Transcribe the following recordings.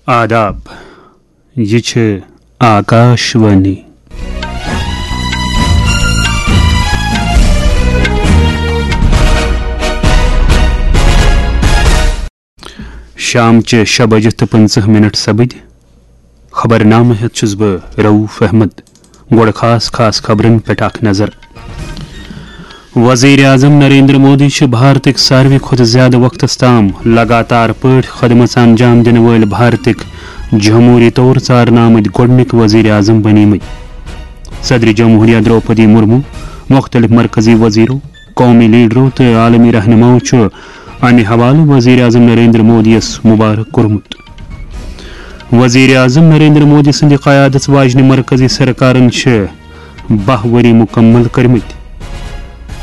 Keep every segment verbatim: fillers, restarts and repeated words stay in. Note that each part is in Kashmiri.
آداب، یہِ چھِ آکاش وانی۔ شام چہِ شےٚ بجہِ تہٕ پٕنٛژٕہ منٹ سپٕدۍ۔ خبرنامہٕ ہٮ۪تھ چھُس بہٕ رؤف احمد۔ گۄڈٕ خاص خاص خبرن پٮ۪ٹھ اکھ نظر۔ وزیر اعظم نریندر مودی چھِ بھارتٕکۍ ساروی کھۄتہٕ زیادٕ وقتس تام لگاتار پٲٹھۍ خدمژ انجام دِنہٕ وٲلۍ بھارتٕکۍ جمہوٗری طور ژارنہٕ آمٕتۍ گۄڈٕنِکۍ وزیر اعظم بنیمٕتۍ۔ صدر جمہوریہ درٛوپدی مرمو، مُختٔلِف مرکزی وزیرو، قومی لیڈرو تہٕ عالمی رہنماو چھُ امہِ حوالہٕ وزیر اعظم نریندر مودی یَس مبارک کوٚرمُت۔ وزیر اعظم نریندر مودی سٕنٛدِ قیادت واجنہِ مرکزی سرکارن چھِ باہ ؤری مکمل کٔرمٕتۍ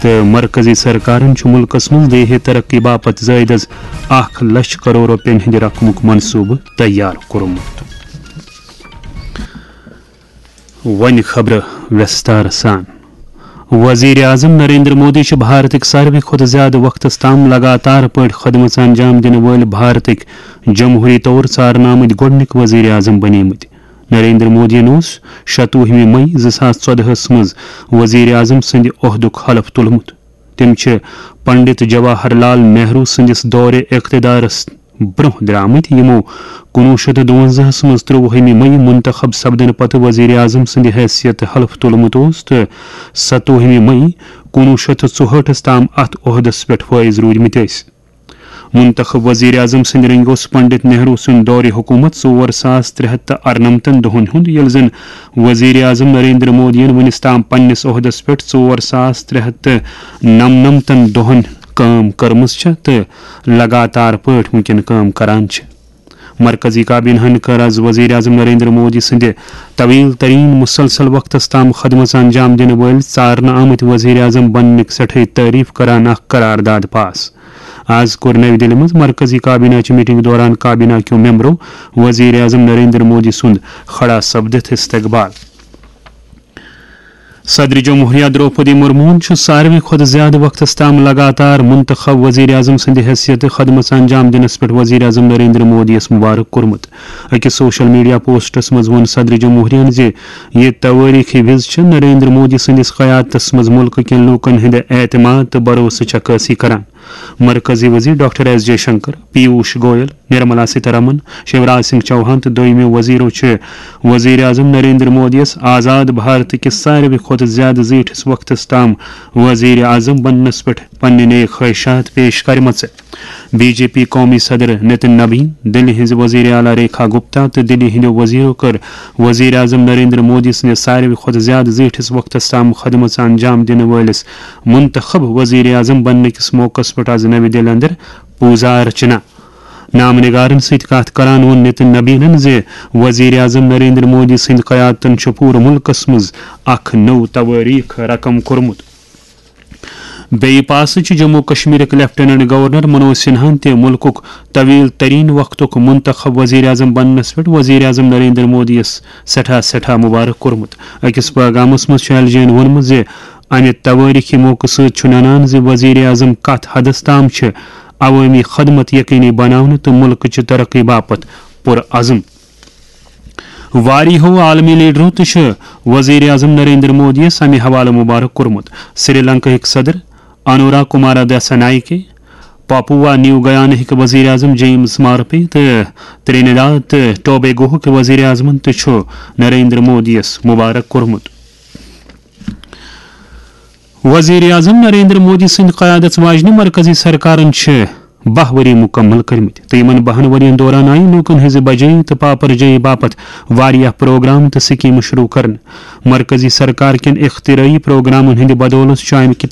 تہٕ مرکزی سرکارن چھُ مُلکس منٛز دیہی ترقی باپتھ زٲیِد از اکھ لچھ کرور رۄپین ہٕنٛدِ رقمُک منصوبہٕ تیار کوٚرمُت۔ وۄنۍ خبرٕ وِستار سان۔ وزیر اعظم نریندر مودی چھِ بھارتٕکۍ ساروی کھۄتہٕ زیادٕ وقتس تام لگاتار پٲٹھۍ خدمژ انجام دِنہٕ وٲلۍ بھارتٕکۍ جمہوٗری طور ژارنہٕ آمٕتۍ گۄڈٕنِکۍ وزیر اعظم بنیمٕتۍ۔ نریندر مودیَن اوس شَتوُہمہِ مئی زٕ ساس ژۄدہَس منٛز وزیر اعظم سٕنٛدِ عہدُک حلف تُلمُت۔ تِم چھِ پنڈت جواہر لال نہرو سٕنٛدِس دورِ اقتدارس برٛونٛہہ درٛامٕتۍ، یِمو کُنوُہ شیٚتھ تہٕ دُوَنزاہَس منٛز ترٛۆوُہمہِ مئی منتخب سپدنہٕ پتہٕ وزیر اعظم سٕنٛدِ حیثیت حلف تُلمُت اوس تہٕ ستووُہمہِ مئی کُنوُہ شیٚتھ تہٕ ژُہٲٹھَس تام اتھ عہدس پٮ۪ٹھ فٲیض روٗدمٕتۍ ٲسۍ۔ منتخب وزیر اعظم سٕنٛدِ رنگہِ اوس پنڈت نہرو سُنٛد دورِ حکومت ژور ساس ترٛےٚ ہتھ تہٕ ارنمتن دۄہن ہُنٛد، ییٚلہِ زن وزیر اعظم نریندر مودیَن وُنِس تام پننِس عہدس پٮ۪ٹھ ژور ساس ترٛےٚ ہتھ تہٕ نمنمتن دۄہن کٲم کٔرمٕژ چھےٚ تہٕ لگاتار پٲٹھۍ وُنکٮ۪ن کٲم کران چھِ۔ مرکزی کابینہ ہن کٔر از وزیر اعظم نریندر مودی سٕنٛدِ طویل ترین مسلسل وقتس تام خدمژ انجام دِنہٕ وٲلۍ ژارنہٕ آمٕتۍ وزیر اعظم بننٕکۍ سٮ۪ٹھٕے تعریف کران اکھ قرارداد پاس۔ از کوٚر نَوِ دِلہِ منٛز مرکزی کابینہ چہِ میٹنگ دوران کابینہ کیو ممبرو وزیر اعظم نریندر مودی سُنٛد کھڑا سپدِتھ استقبال۔ صدر جمہوریہ درٛوپدی مرموہن چھُ ساروی کھۄتہٕ زیادٕ وقتس تام لگاتار منتخب وزیر اعظم سٕنٛدِ حیثیتہٕ خدمژ انجام دِنس پٮ۪ٹھ وزیر اعظم نریندر مودی یَس مبارک کوٚرمُت۔ أکِس سوشل میڈیا پوسٹس منٛز ووٚن صدر جمہوریہن زِ یہِ توٲریخی وِز چھِ نریندر مودی سٕنٛدِس قیادتس منٛز مُلکہٕ کٮ۪ن لوٗکن ہٕنٛدِ اعتماد تہٕ بھروسٕچ عکٲسی کران۔ مرکزی وزیر doctor S J Shankar, Piyush Goyal, Nirmala Sitharaman, Shivraj Singh Chouhan تہٕ دوٚیمہِ وزیرو چھِ وزیر اعظم نریندر مودی یَس آزاد بھارت کِس ساروی کھۄتہٕ زیادٕ زیٖٹھِس وقتس تام وزیر اعظم بننس پٮ۪ٹھ پننہِ نیک خواہشات پیش کرِمژٕ۔ بی جے پی قومی صدر نتن نبین، دِلہِ ہٕنٛزِ وزیر اعلیٰ ریکھا گپتا تہٕ دِلہِ ہٕنٛدیو وزیرو کٔر وزیر اعظم نریندر مودی سٕنٛدِس ساروی کھۄتہٕ زیادٕ زیٖٹھِس وقتس تام خدمژ انجام دِنہٕ وٲلِس منتخب وزیر اعظم بننہٕ کِس موقعس پٮ۪ٹھ از نَوِ دِلہِ اندر پوٗزا ارچنا۔ نامہٕ نگارن سۭتۍ کتھ کران ووٚن نتن نبینن زِ وزیر اعظم نریندر مودی سٕنٛدِ قیادتن چھُ پوٗرٕ مُلکس منٛز اکھ نوٚو توٲریخ رقم کوٚرمُت۔ بیٚیہِ پاسہٕ چھِ جموں کشمیرٕکۍ لیفٹیننٹ گورنر منوج سنہاہن تہِ مُلکُک طویل ترین وقتُک منتخب وزیر اعظم بننس پٮ۪ٹھ وزیر اعظم نریندر مودی یَس سٮ۪ٹھاہ سٮ۪ٹھاہ مبارک کوٚرمُت۔ أکِس پیغامس منٛز چھُ ایل جے ین ووٚنمُت زِ امہِ توٲریخی موقعہٕ سۭتۍ چھُ ننان زِ وزیر اعظم کتھ حدس تام چھِ عوٲمی خدمت یقینی بناونہٕ تہٕ مُلکٕچہِ ترقی باپتھ پُرعزم۔ واریاہو عالمی لیڈرو تہِ چھِ وزیر اعظم نریندر مودی یَس امہِ حوالہٕ مبارک کوٚرمُت۔ سری لنکاہٕکۍ صدر انورا کمارا دسا نائکے، پاپوا نیو گیاناہٕکۍ وزیر اعظم جیمز مارپے تہٕ ترینیڈاد تہٕ ٹوبیگوہٕکۍ وزیر اعظمن تہِ چھُ نریندر مودی یَس مبارک کوٚرمُت۔ وزیر اعظم نریندر مودی سٕنٛدِ قیادت واجنہِ مرکزی سرکارن چھِ باہ ؤری مکمل کٔرمٕتۍ تہٕ یِمن باہن ؤرین دوران آیہِ لوٗکن ہٕنٛزِ بجٲیی تہٕ پاپرجٲیی باپتھ واریاہ پروگرام تہٕ سکیمہٕ شروع کرنہٕ۔ مرکزی سرکار کٮ۪ن اختراعی پروگرامن ہٕنٛدِ بدولتھ چھُ امہِ کہِ